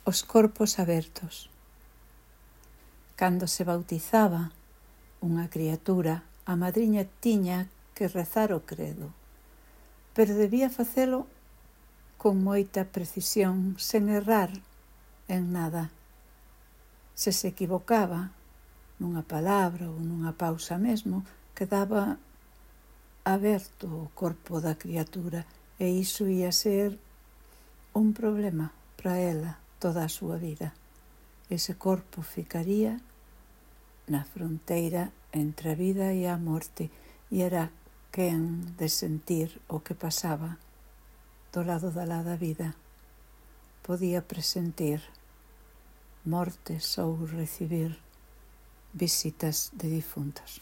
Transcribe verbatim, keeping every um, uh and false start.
os corpos abertos. Cando se bautizaba unha criatura, a madriña tiña que rezar o credo, pero debía facelo con moita precisión, sen errar en nada. Se se equivocaba nunha palabra ou nunha pausa mesmo, quedaba aberto o corpo da criatura e iso ia ser un problema para ela toda a súa vida. Ese corpo ficaría na fronteira entre a vida e a morte e era quen de sentir o que pasaba do lado da lá da vida. Podía presentir mortes ou recibir visitas de difuntos.